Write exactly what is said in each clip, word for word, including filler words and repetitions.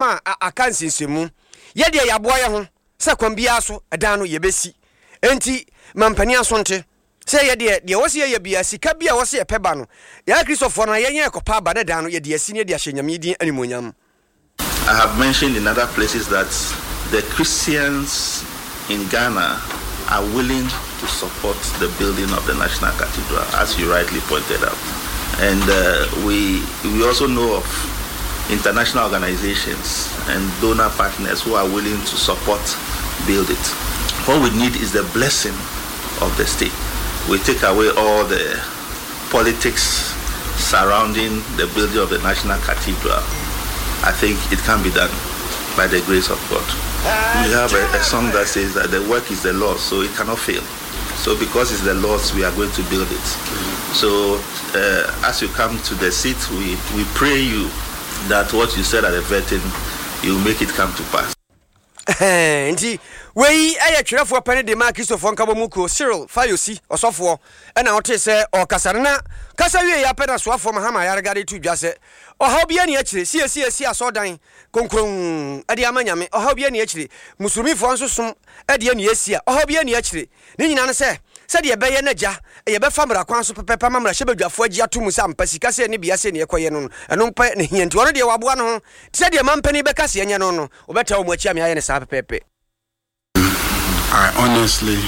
a aka nsensɛnmu. Yɛ deɛ yɛaboa yɛ ho sɛ kwan biara so ɛdan no yɛbɛsi. Enti ma mpanin aso nte sɛ yɛ deɛ, deɛ ɛwɔ sɛ yɛyɛ biara, sika bi a ɛwɔ sɛ yɛpɛ ba no, yɛn Akristofoɔ no, yɛn yɛn kɔpa aba na dan no yɛde asi na yɛde ahyɛ Nyame din animuonyam. I have mentioned in other places that the Christians in Ghana are willing to support the building of the National Cathedral, as you rightly pointed out. And uh, we, we also know of international organizations and donor partners who are willing to support build it. What we need is the blessing of the state. We take away all the politics surrounding the building of the National Cathedral. I think it can be done by the grace of God. We have a, a song that says that the work is the Lord's, so it cannot fail. So because it's the Lord's, we are going to build it. So uh, as you come to the seat, we, we pray you that what you said at the vetting, you make it come to pass. Nti wei ɛyɛ twerɛfoɔ pɛne de ma Kristofoɔ Nkabɔ mu kuo, Cyril Fayosi, ɔsɔfoɔ, ɛna wote sɛ ɔkasa no. Na kasa wie yɛ apɛ na soafoɔ Mahama Ayariga de to dwa sɛ ɔhaw bi ani akyire siesie asɔɔdan konkron ɛde ama Nyame. Ɔhaw bi ani akyire, Musulmifoɔ nso som ɛde ani asi a ɔhaw bi ani akyire ne nyinaa no sɛ sɛdeɛ ɛbɛyɛ no agya yɛbɛfa mmara kwan so pɛpɛpɛ ma mmarahyɛbadwafoɔ agye ato mu sɛ ampa sika sɛ ne bia sɛ ne ɛkɔyɛ no no ɛno mpɛ ne hia. Nti ɔno deɛ waboa no ho sɛdeɛ mampani bɛka sɛ ɛnyɛ no no wɔbɛta wɔ mu akyi ame ayɛ ne saa pɛpɛɛpɛ. I honestly,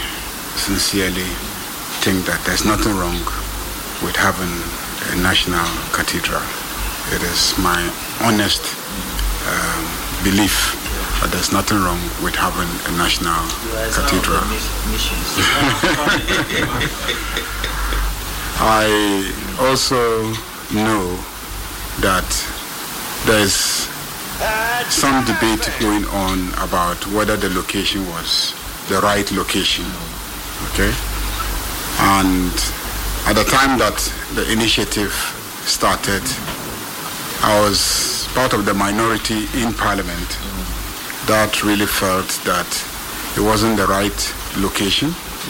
sincerely think that there's nothing wrong with having a national cathedral. It is my honest um, belief that there's nothing wrong with having a national cathedral. I also know that there's some debate going on about whether the location was the right location. Okay? And at the time that the initiative started, I was part of the minority in Parliament that really felt that it wasn't the right location.